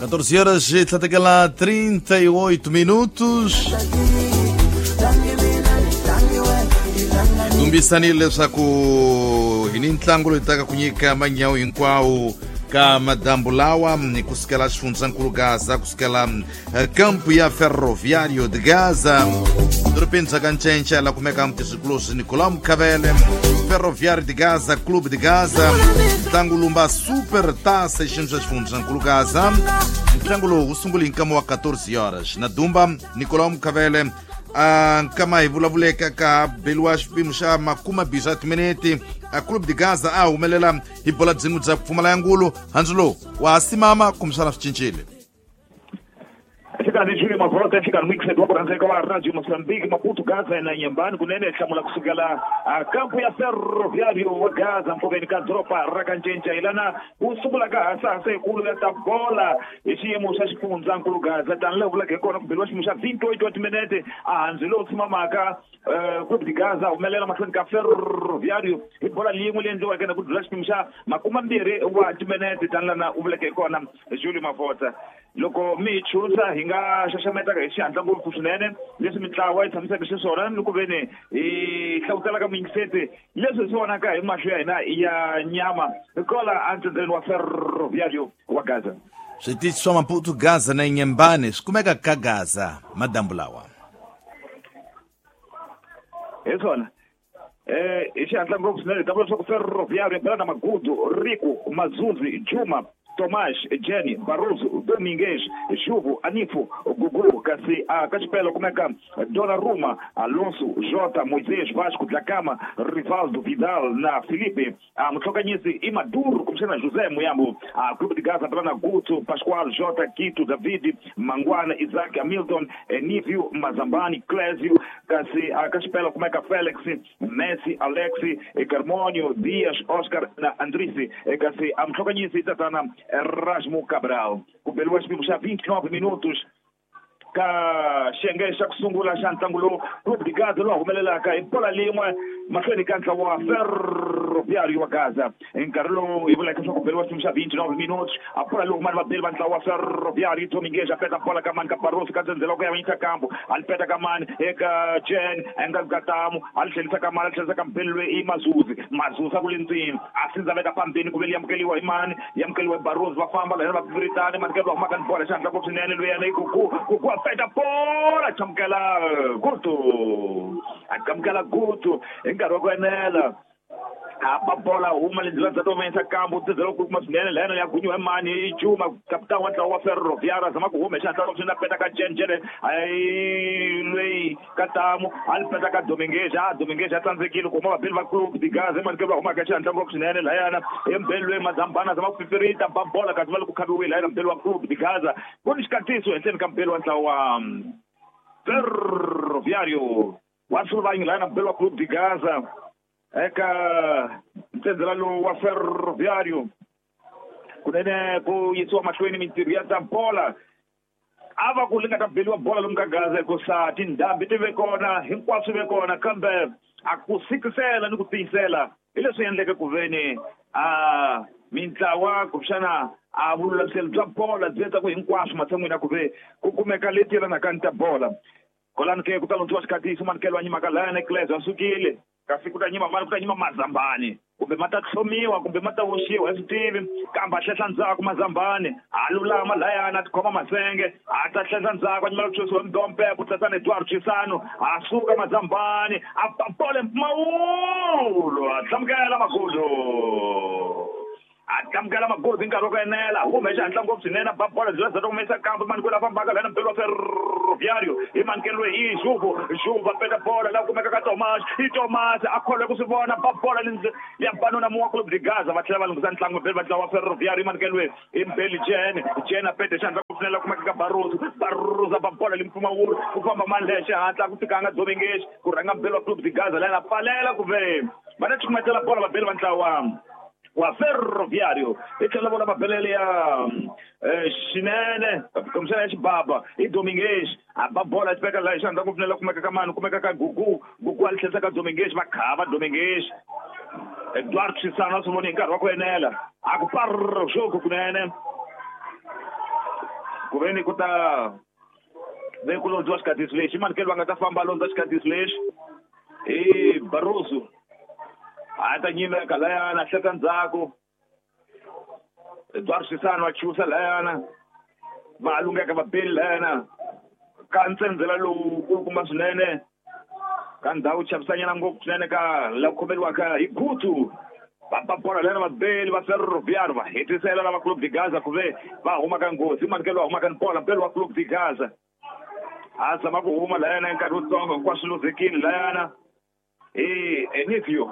14 horas e tlhatekela 38 minutos. Tumbisanile leswaku hi ni ntlangu loyi taka ku nyika manyawu hinkwawo ka madambu lawa kusukela xifundzankulu Gaza, kusukela kampu ya Ferroviário de Gaza, dorobeni bya Kancenca la kumeka mutizwikulosi Nicolau Mukhavele. Ferroviário de Gaza, Clube de Gaza, ntlangu lumba Super Taça xiyimo xa xifundzankulu Gaza. Ntlangu lowu wu sungule hi nkama wa 14 horas na Dumba Nicolau Mukhavele. Nkama hi vulavuleka ka beliwa xipimo xa makuma mbirhi swa timinete, a Clube de Gaza a humelela hi bola byin'we bya ku pfumala ya ngulu. Handzu lowu wa ha simama kumbexana swi cincile? Xikarhi Júlio Mavota, xikarhi mixed wa ku rhandzeka wa Radio Mozambique, Maputo, Gaza na Nyembani kunene hlamula kusukela kampu ya Ferroviário wa Gaza mpfuveni ka doroba ra Kancenca hilana ku sungula ka hasahasa yikulu ya ta bola hi xiyimo xa xifundzankulu Gaza. Tani laha vulaka hi kona ku beliwa xiyimo xa 28 wa timinete, a handzi lowu tshimamaka Clube de Gaza humelela mahlweni ka Ferroviário hi bola liyin'we leyi endliweke na ku dlula xipimo xa 20 wa timinete. Tani lana u vuleke hi kona Júlio Mavota, loko mi hi chusa hi nga xaxametaka hi xihatla ngopfu swinene leswi mintlawa yi tshamiseke xiswona ni ku veni hi hlavutelaka muyingiseti leswi hi swi vonaka hi mahlo ya hina ya nyama kola entsendzeni wa Ferroviário wa Gaza. Switichi swa Maputo, Gaza na Inyembane swi kumeka ka Gaza madambu lawa. Hi swona, hi xihatla ngopfu swinene hi ta vula leswaku Ferroviário bela na Magudu, Rico, Mazuzi, Juma, Tomás, Jenny, Barroso, Domingues, Juvo, Anifo, Gugu, kasi ka xipela kumeka Donnarumma, Alonso, Jota, Moisés, Vasco, Dlakama, Rivaldo, Vidal na Felipe. Mutlhokanyisi i Maduro kumbexana José Muyambo. Clube de Gaza bela na Guto, Pascoal, Jota, Quito, David, Mangwana, Isaac, Hamilton, Nívio, Mazambani, Clésio, kasi ka xipela kumeka Felix, Messi, Alexi, Carmonio, Dias, Oscar na Andrisi, kasi mutlhokanyisi i tatana Erasmo Cabral. Ku beliwa xipimo xa 29 minutos ka xiyenge xa ku sungula xa ntlangu lowu, Clube de Gaza lowu humelelaka hi bola lin'we mahlweni ka ntlawa wa Ferroviário wa Gaza. Hi nkarhi lowu hi vulaka leswaku beliwa xipimo xa 29 minutos, a bola lowu mani vabeli va ntlawa wa Ferroviário. Domingues a peta bola ka mani ka Barroso ka ndzhendzela ku ya vanyisa kambu, a li peta ka mani eka Jen enga Gatamu, a li tlhelisa ka mani, a li tlhelisa ka mbeli loyi i Mazuzi. Mazuzi a ku le ndzeni, a sindza veka pambeni ku veli yamukeliwa hi mani, yamukeliwa hi Barroso. Va famba lahena va viritani mani ke va humaka ni bola xihatla ngopfu swinene. Luyena i Gugu, Gugu a peta bola, chamukela Gutu, a chamukela Gutu hi nkarhi wa ku enela, a ba bola huma le ndlela bya tomesa kambu ndzedzela ku kuma swinene lehena ya gunyiwa hi mani i Juma, kapitani wa ntlawa wa Ferroviário. A zama ku huma hi xihatla swinene, a peta ka Jen, Jen ayi loyi Katamu, a li peta ka Domingues. A Domingues a tsandzekile ku huma vabeli va Clube de Gaza emani ke va humaka xihatla ngopfu swinene layana i mbeli loyi Mazambana, a zama ku pipirita ba bola kasi va le ku khaviwile layena mbeli wa Clube de Gaza. Ku ni xikatiso henhleni ka mbeli wa ntlawa wa Ferroviário wa Sulvanyi layena mbeli wa Clube de Gaza eka ntsendzela lowu wa Ferroviário. Kunene ku yisiwa mahlweni mintirho ya ta bola, a va ku li nga ta beliwa bola lomu ka Gaza hikusa tindhambi ti ve kona, hinkwaswo ve kona, kambe a ku sikisela ni ku tiyisela hi leswi endleke ku veni a mintlawa kumbexana a vululamiselo bya bola byi endla ku hinkwaswo matshan'wini ya ku ve ku kumeka leti yelanaka ni ta bola. Kolani ke ku ta londziwa xikatiso manikelo wa nyimaka layana Cles a sukile, kasi ku ta nyima mani? Ku ta nyima Mazambani, kumbe ma ta tlhomiwa kumbe ma ta oxiwa hi swi tivi, kambe a hlehla ndzhaku Mazambani, a lulama layana a tikhoma masenge, a ta hlehla ndzhaku a nyimela ku xosiwa mdompepo tatana Eduardo Chisano. A suka Mazambani, a ba bola mpfumawulo, a hlamukela Magudu, a tlamukela Magudu hi nkarhi wa ku enela, hume hi xihatla ngopfu swinene, a ba bola byi za humesa kambe mani kwela fambaka lana mbeli wa Ferroviário hi manikelo i Juvo. Juvo a peta bola la kumeka ka Tomas, i Tomas a kholwe ku swi vona, ba bola ya banuna muwa Clube de Gaza. Va tlhela va lunghisa ntlangu mbeli va ntlawa wa Ferroviário, i manikelo i mbeli Jen, Jen a pete xihatla ngopfu swinene la kumeka ka Barroso, Barroso a ba bola limpfumawulo, ku famba mani leya xihatla ku fikanga Domingues ku rhanga mbeli wa Clube de Gaza lana pfalela ku ve va ta cukumetela bola vabeli va ntlawa wa Ferroviário. Hi tlhela vona mabelele ya xinene kumbexana ya xibaba i Domingues, a ba bola xi veka laha xandla ku pfunela kumeka ka mani, kumeka ka Gugu, Gugu a li tlhelisa ka Domingues, va khava Domingues. Eduardo Chisano a swi voni hi nkarhi wa ku enela, a ku parr xoku kunene. Ku ve ni ku ta ve ku londziwa xikatisi lexi manikelo va nga ta famba londza xikatisi lexi i Barroso a ta nyimeka layana hleka ndzhaku Eduardo Sisano wa chusa layana va lungeka va beli layana ka ntsendzela lowu kulukumba swinene ka ndhawu chavisanyana ngopfu swinene ka la khomeriwaka hi Gutu va bola layana vabeli va Ferroviário va hetisela lava Clube de Gaza ku ve va huma ka nghozi manikelo va huma ka bola mbeli wa Clube de Gaza a zama ku huma layana nkarhi wutsongo hinkwaswo luzekile layana i Enivio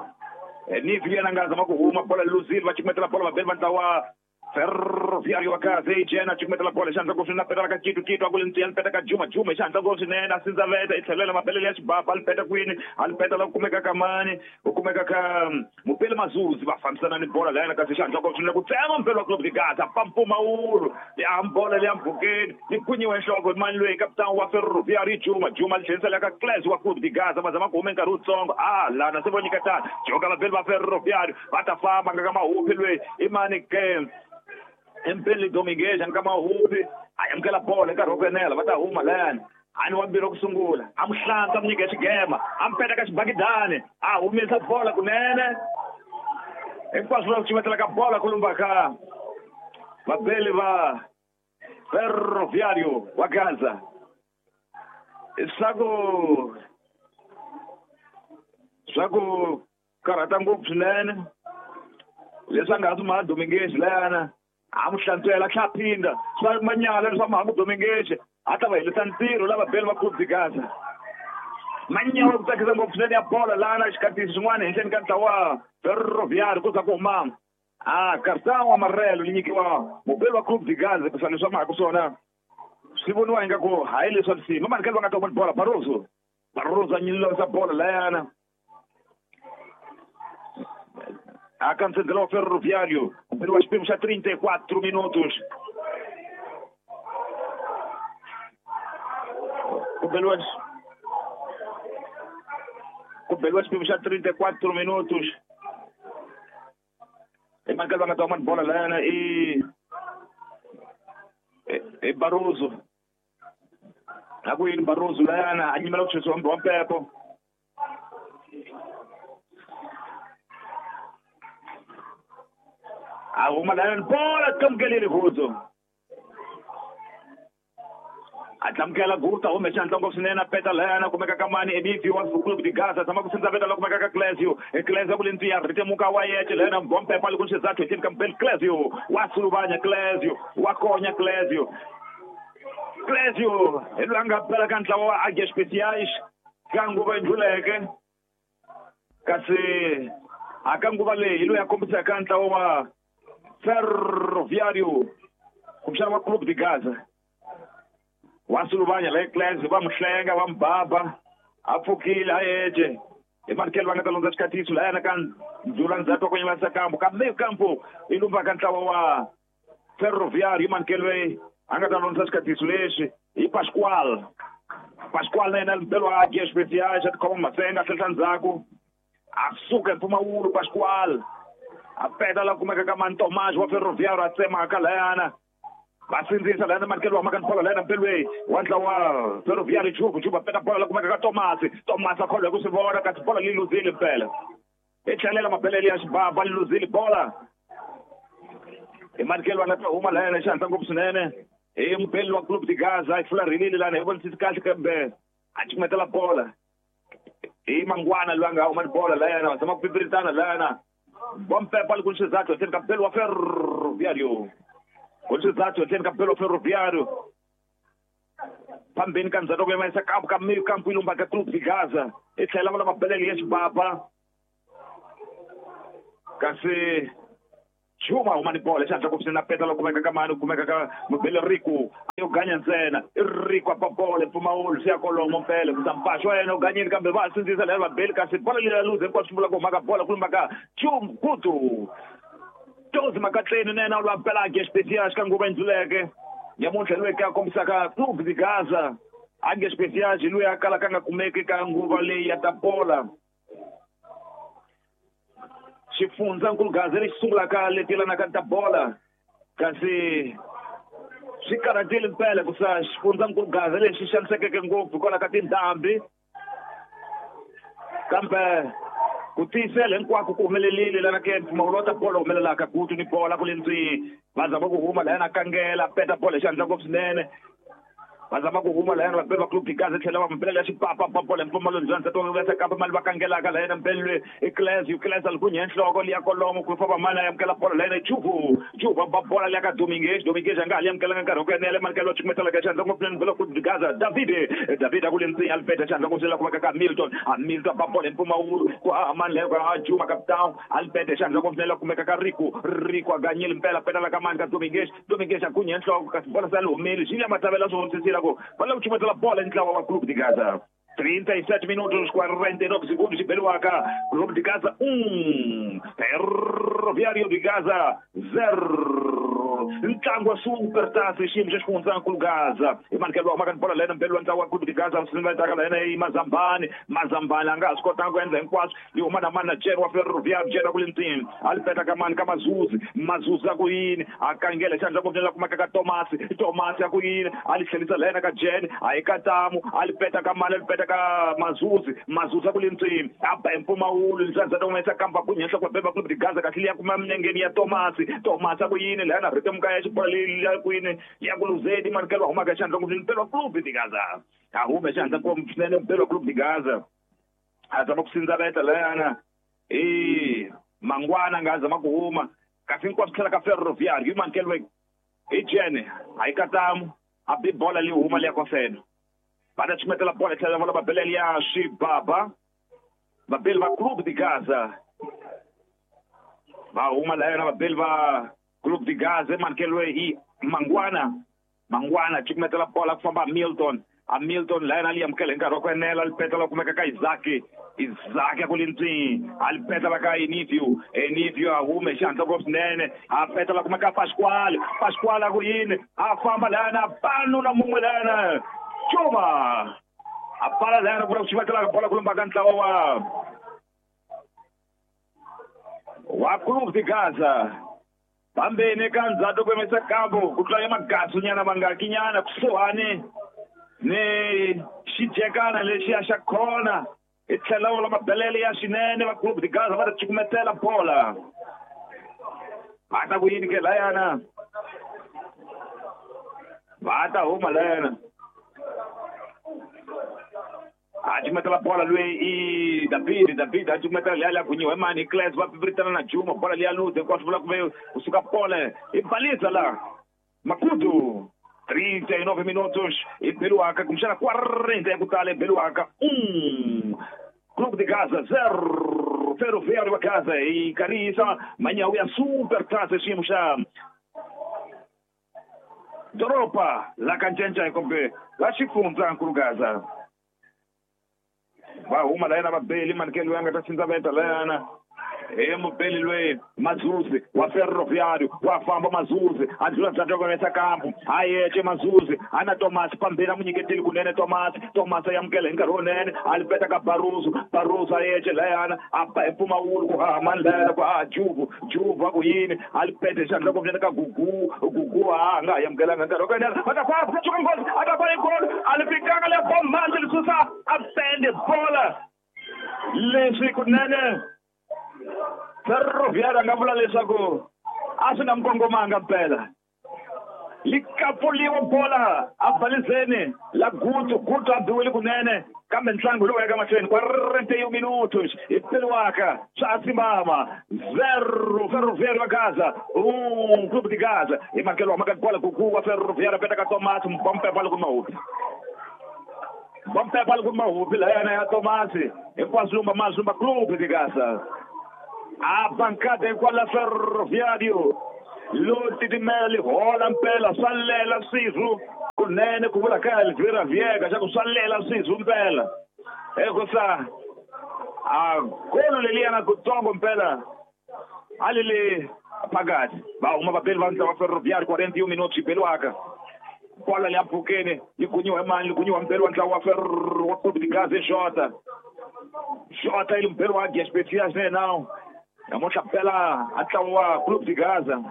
Enivio yena nga zama ku huma bola luzile va cukumetela bola vabeli va ntlawa Ferroviário wa Gaza ijena cukumetela bola xandla ngopfu na petela ka Kitu Kitu a ku le ntiya peta ka Juma Juma xandla ngopfu swinene a sindzaveta i tlhelela mabelele ya xibaba a peta kwini a peta la ku kumeka ka mani ku kumeka ka Mupele Mazuzi va fambisana ni bola layana kasi xandla ngopfu swinene ku tsema mpelo wa Clube de Gaza pampumawulu ya bola leya mpfhukeni yi kunyiwe nhloko mani loyi kapitani wa Ferroviário Juma Juma li tlherisela ka Cles wa Clube de Gaza va zama ku huma nkarhi wutsongo a lana se vo nyiketana joka vabeli va Ferroviário va ta famba nga ka mahupi loyi i mani ke Mpeli Dominguez nga mahupi a amukela bola nkarhi wo ku enela va ta huma layani a ni wa mbirhi ku sungula a mu hlantswa mu nyika xigema a mu peta ka xibakidani a humesa bola kunene hinkwaswo va cumetela ka bola ku lumba ka vabeli va Ferroviário wa Gaza swa ku karhata ngopfu swinene leswi a nga ha swi maha Dominguez layana a mu hlantswela tlha phinda swa manyala leswa maha Dominguez a ta va helisa ntirho lava beli va Clube de Gaza manyawa ku tsakisa ngopfu swinene ya bola lana xikatisi xin'wana henhleni ka ntlawa Ferroviário ku za ku huma a cartão amarelo li nyikiwa mubeli wa Clube de Gaza ku swa leswi va mahaka swona swi voniwa ingaku hayi leswa risima manikelo va nga ta huma bola Barroso Barroso a nyilisa bola layana a ka ntsendzela wa Ferroviário mubeli wa xipimo xa 34 minutos ku beliwa xipimo xa 34 minutos i manikelo va nga ta huma bola layana i Barroso a ku yini Barroso layana a nyimela ku xisiwa wa mpepo a huma layana bola tlamukelile Gutu a tlamukela Gutu a hume xandla ngopfu swinene a peta layana kumeka ka mani Enivio wa Clube de Gaza tshama ku sindzaveta la kumeka ka Clesio Clesio ku le ndziya ritemuka wa yece layana mbompepa li ku xizathu henhleni ka Mpeli Clesio wa suluvanya Clesio wa konya Clesio Clesio hi loyi a nga pela ka ntlawa wa Águias Especiais ka nguva yi ndluleke kasi a ka nguva leyi hi loyi a kombisaka ntlawa wa Ferroviário kumbexana wa Clube de Gaza wa suluvanya la Clesio va mu hlenga va mu baba a pfukile a yece hi manikelo va nga ta londza xikatiso layana ka ndzula ndzhaku wa ku nyivasa kampo kambe kampo i lumba ka ntlawa wa Ferroviário hi manikelo loyi a nga ta londza xikatiso lexi hi Pascoal Pascoal na yena mbelo wa Águias Especiais a tikhoma masenga a tlhela ndzhaku a suka hi mpfumawulo Pascoal a peta la kumeka ka mani Tomás wa Ferroviário a tsemaka layana va sindzisa layana manikelo wa maka ni bola layana mpelweni wa ntlawa Ferroviário Juku Juba peta bola la kumeka ka Tomasi Tomasi a kholwa hi ku swi vona kasi bola li luzile mpela i tlhelela mabelele ya xibaba li luzile bola hi manikelo va nga ta huma layana xihatla ngopfu swinene hi mupeli wa Clube de Gaza yi fularhelile lana hi vonisisi kahle kambe a cukumetela bola hi Mangwana loyi a nga huma ni bola layana va zama ku pipiritana layana bompepa li ku xizathu henhleni ka mpeli wa Ferroviário ku xizathu henhleni ka mpeli wa Ferroviário phambeni ka ndzhaku ku yimisa kampo ka meio kampo yi lumba ka Clube de Gaza i tlhela va la mabelele ya xibaba kasi Juma huma ni bola xandla ku swinene peta la kumeka ka mani kumeka ka mubeli Rico yo ganya ntsena i Rico a ba bola mpfumawulo swi ya kolomo mpela ku mpaxo wa yena u ganyile kambe va sindzisa leri vabeli kasi bola leyi luze hinkwaswo swi vula ku huma ka bola ku lumba ka Jum Gutu Tozi Makatleni na yena u lwa pela Águias Especiais ka nguva yi ndluleke nyamuntlha loyi ka kombisaka Clube de Gaza Águias Especiais loyi a kalaka a nga kumeki ka nguva leyi ya ta bola xifundzankulu Gaza lexi sungulaka leti yelanaka ni ta bola kasi Swi karhatile mpela ku sa xifundzankulu Gaza lexi xanisekeke ngopfu hikwalaho ka tindhambi. Kambe ku tiyisela hinkwako ku humelerile lana ke mpfumawulo wa ta bolo humelelaka Gutu ni bola ku le ndzeni. Va zama ku huma lahayana kangela peta bolo hi xandla ngopfu swinene. Va zama ku huma lahayana vabeli va Clube de Gaza tlhela va mbelela ya xipapa ba bolo hi mpfumawulo ndzani ta tonga kambe mali va kangelaka lahayana mbelwe i Cles Cles a likunye nhloko liya kolomo ku famba mali a amukela bolo lahayana Juvu Juvu ba bola liya ka Dominguez Dominguez a nga ha li amukelanga nkarhi wa ku enela mali ka chukumetela ka xandla ngopfu swinene Clube de Gaza David David a ku le ndzeni a li peta xandla ngopfu swinene kumeka ka Milton a Milton ba bolo hi mpfumawulo ku haha mani leyo ka Juma Capitão a li peta xandla ngopfu swinene kumeka ka Rico Rico a ganyile mpela petela ka mani ka Dominguez Dominguez a gunye nhloko kasi bola se a li humile Julia Matavela swi vonisisile ku va lava ku chumetela bola ntlawa wa Clube de Gaza 37 minutos 49 segundos xibeliwaka Clube de Gaza 1 Ferroviário de Gaza 0 ntlangu wa Super Taça xiyimo xa xifundzankulu Gaza hi manikelo wa humaka ni bola lena mbeli wa ntlangu wa Clube de Gaza va lena i Mazambani Mazambani a nga ha swi kotanga ku endla hinkwaswo yi huma na mani na Jen wa Ferroviário Jen a ku le ndzeni a li peta ka mani ka Mazuzi Mazuzi a ku yini a kangela xandla ku la kumeka ka Tomasi Tomasi a ku yini a li tlhelisa lena ka Jen a yi ka Tamu a li peta ka mani a li peta ka Mazuzi Mazuzi a ku le ndzeni a ba hi mpfumawulo leswi ta humesa kamba ku nyenhla kwa beba Clube de Gaza kahle liya kuma minengeni ya Tomasi Tomasi a ku yini lana ritemuka ya xibola leyi ya ku yini ya ku luzeni manikelo humaka xandla ku mpelo Clube de Gaza a hume xandla ku swinene mpelo Clube de Gaza a zama ku sindzaveta layana i Mangwana nga zama ku huma kasi hinkwaswo tlhela ka Ferroviário hi manikelo hi Jene a yi katamu a bi bola leyi huma liya kosena va ta chumetela bola tlhela va lava belele ya Xibaba vabeli va Clube de Gaza va huma layana vabeli va Clube de Gaza manikelo hi Mangwana Mangwana chukumetela bola ku famba Milton a Milton layana li amukela hi nkarhi wa ku enela li petela kumeka ka Isaac Isaac a ku le ndzeni a li petela ka Enivio Enivio a hume xihatla ngopfu swinene a petela kumeka Pasquale Pasquale a ku yini a famba layana pano na mun'we layana Juma a pfala layana ku la ku chumetela bola ku lumba ka ntlawa wa Clube de Gaza pambeni ka ndzhato ku yimisa kambu ku tlula magasu nyana mangakinyana kusuhani ni xijekana lexiya xa khona hi tlhela vula mabelele ya swinene va Clube de Gaza va ta cukumetela bola va ta ku yini ke layana va ta huma layana a cukumetela bola loyi i David David a cukumetela liya liya gunyiwa hi mani hi Cles va pipiritana na Juma bola liya luze hinkwaswo vula kuve kusuka pole i balisa la Makudu 39 minutos e Beluaca, começar a 40 ya kutale Beluaca 1 Clube de Gaza 0 Ferroviário wa Gaza e Karisa manyawu ya Super Taça xiyimo xa doroba la Kancenca kumbe la xifundzankulu Gaza va huma layana vabeli manikelo ya nga ta sindzaveta layana he mubeli loyi Mazuzi wa Ferroviário wa famba Mazuzi a ndlula ndzhaku ka yesa kambu a yece Mazuzi a na Tomasi pambeni a n'wi nyiketile kunene Tomasi Tomasi a amukela hi nkarhi wunene a li peta ka Barroso Barroso a yece layana a ba hi mpfumawulo ku haha mani layana ku haha Juvu Juvu a ku yini a li peta hi xandla kunene ka Gugu Gugu a nga ha amukelanga nkarhi wa ku enela a ta famba suka nghozi a ta ba hi golo a li fikanga le bommanzi li susa a pende bola leswi kunene Ferroviário a nga vula leswaku a swi nga n'wi kongomanga mpela li kapuliwa bola a balizeni la Gutu Gutu a biwile kunene kambe ntlangu lowu yaka mahlweni 41 minutos hi peliwaka swa simama 0 Ferroviário wa Gaza 1 Clube de Gaza hi makelo wa maka bola Gugu wa Ferroviário peta ka Tomasi mbompe bola ku mahupi bompe bola ku mahupi layana ya Tomasi hinkwaswo lumba mazumba Clube de Gaza a bancada hikwala Ferroviário lo titimela hola mpela swa lela swizwu kunene ku vula ka Elvira Viega xa ku swa lela swizwu mpela hikusa a golo leliyana kutsongo mpela a li le phakathi va huma vabeli va ntlawa Ferroviário 41 minutos xibeliwaka bola liya mpfhukeni yi gunyiwa hi mani yi gunyiwa mpeli wa ntlawa wa Clube de Gaza hi Jota Jota yi mpeli wa Águias Especiais ne nawu namuntlha mpela a ntlawa wa Clube de Gaza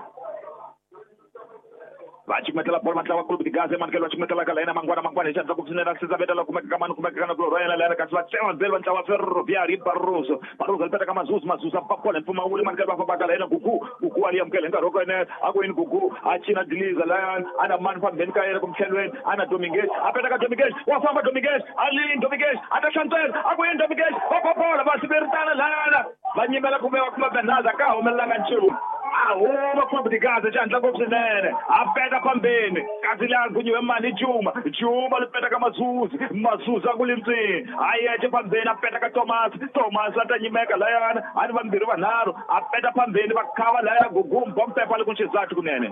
Va cukumetela bolo vatlawa Clube de Gaza emanikelo va cukumetelaka la yena Mangwana Mangwana hi xihatla ku swinene a siza veta la kumeka ka mani kumeka ka na kulorhi wa yena la yena kasi va tsema belo va ntlawa Ferroviário Barroso Barroso li peta ka Mazuzu Mazuzu a bola hi mpfumawulo emanikelo va fambaka la yena Gugu Gugu a li amukela hi nkarhi wa ku enela a ku yini Gugu a cina diliza layani a na mani fambeni ka yena kumtlhelweni a na Dominguez a peta ka Dominguez wa famba Dominguez a lini Dominguez a ta hlantswela a ku yini Dominguez va ba bola va siveritana layana va nyimela kumbe va kuma Bernardo ka humelelanga nchumu a huma Clube de Gaza xihatla ngopfu swinene a peta phambeni kasi laha gunyiwe mani Juma Juma li peta ka Mazuzu Mazuzu a ku li ntswini a yexe phambeni a peta ka Thomas Thomas a ta nyimeka layana a ni vambirhi vanharhu a peta phambeni va khava layana Gugu Mbompepa li ku xizathu kunene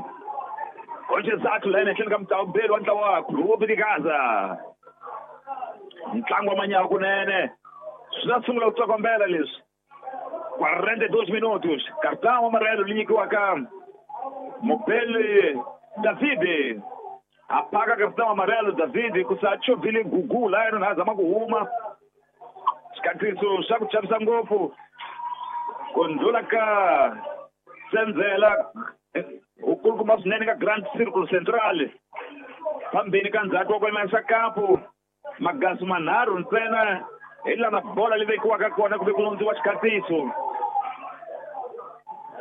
ku xizathu layana ehenhleni ka mutawubeli wa ntlawa wa Clube de Gaza ntlangu wa manyawa kunene swi ta sungula ku tsokombela leswi 42 minutos cartão amarelo li nyikiwaka mubeli David a phaka cartão amarelo David ku sa chovhile Gugu la yena na zama ku huma xikatiso xa ku chavisa ngopfu ku ndlula ka Senzela ukulukumba swinene ka Grand Circle Central phambeni ka ndzhaku wa ku yimisa kampu magasu manharhu ntsena hi lana bola li vekiwaka kona ku ve ku londziwa xikatiso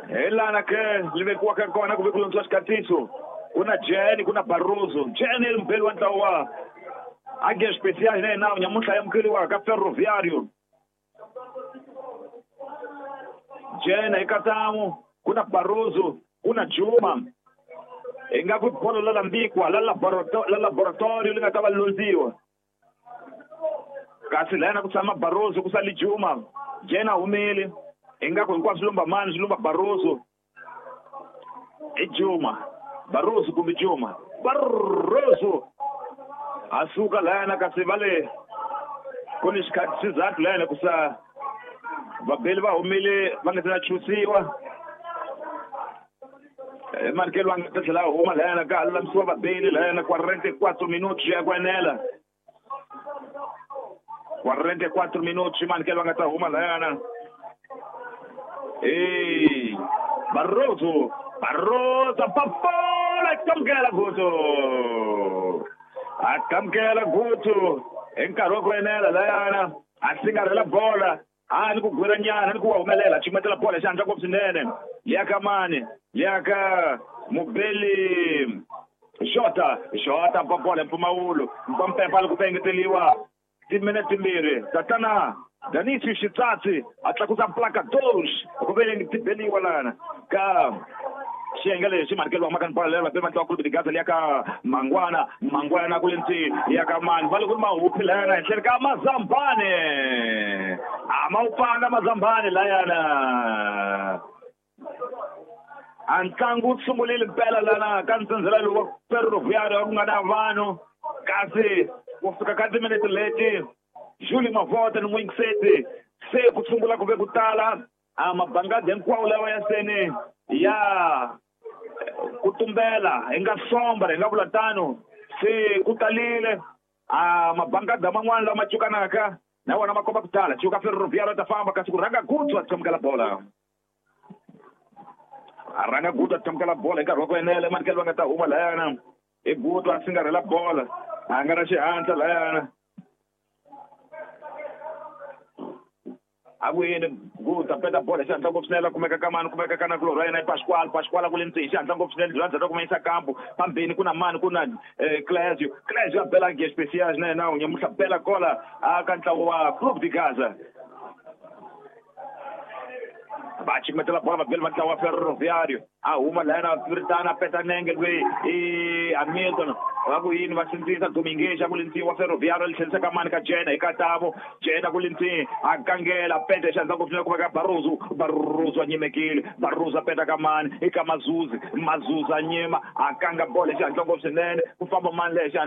hi lana ke li vekiwaka kona ku ve ku londziwa xikatiso ku na Jeni ku na Barroso Jeni i mubeli wa ntlawa wa Águia Especial na yena nyamuntlha ya amukeriwaka Ferroviário Jena hi ku na Barroso ku na Juma hi nga ku bolo la lambikwa la laboratorio li nga ta va londziwa kasi lana ku tshama Barroso ku sali Juma Jena humile ingaku hinkwaswo lumba mani swi lumba Barroso i Juma Barroso kumbe Juma Barroso a suka lana kasi va le ku ni xizathu lana ku sa vabeli va humile va nga se na chusiwa emanikelo va nga ta tlhela huma lana ka ha lulamisiwa vabeli lana 44 minutos ya ku enela 44 minutos manikelo va nga ta huma layana e Barroso Barroso papola kamukela Gutu a kamukela Gutu hi nkarhi wa ku enela layana a singarhela bola a ni ku gwira nyana ni ku wa humelela cukumetela bola xihatla ngopfu swinene liya ka mani liya ka mubeli Jota Jota bola mpfumawulo mpampepa li ku engeteliwa timinete timbirhi tatana Danisi Xitsatsi a tlakusa placa 2 ku ve ti beliwa lana ka xiyenge lexi manikelo wa makani bola leri va ntlawa Clube de Gaza liya ka Mangwana Mangwana ku le ntsi ya ka mani va le ku ri mahuphi layana henhleni ka Mazambane a ma wu pfanga Mazambane layana a ntlangu wu sungulile mpela lana ka ntsendzela lowu wa Ferroviário ku nga na vanhu kasi ku fika ka timinete leti Julie Mavota ni n'wingiseti se ku sungula ku ve ku tala a mabangadi hinkwawo lawa ya seni ya ku tumbela hi nga sombra hi nga vula tano se ku talile a mabangada man'wana lama cukanaka na wona ma komba ku tala cuka Ferroviário ta famba kasi ku rhanga Gutu a tsamukela bola a rhanga Gutu a tsamukela bola hi nkarhi wa ku enela emanikelo va nga ta huma layana i Gutu a singarhela bola a nga na xihatla layana a ku yini Gutu a peta bola xihatla ngopfu swinene kumeka ka mani kumeka ka na kulorhi wa yena i Pascual Pascual ku le ntsini xihatla ngopfu swinene bya ndzhaku kuma yisa kampu phambeni ku na mani ku na Clésio Clésio a bela Águia Especial na yena nyamuntlha bela kola a ka ntlawa wa Clube de Gaza va cukumetela bola vabeli va ntlawa wa Ferroviário a huma layana ritana a peta nenge loyi i Hamilton va ku yini va sindzisa Dominguez a ku le ntsini wa Ferroviário li tlherisa ka mani ka Jena hi Katamo Jena ku le ntsini a kangela peta xihatla ngopfu swinene kumeka Barroso Barroso a nyimekile Barroso a peta ka mani i ka Mazuzi Mazuzi a nyima a kanga bola xihatla ngopfu swinene ku famba mani lexa.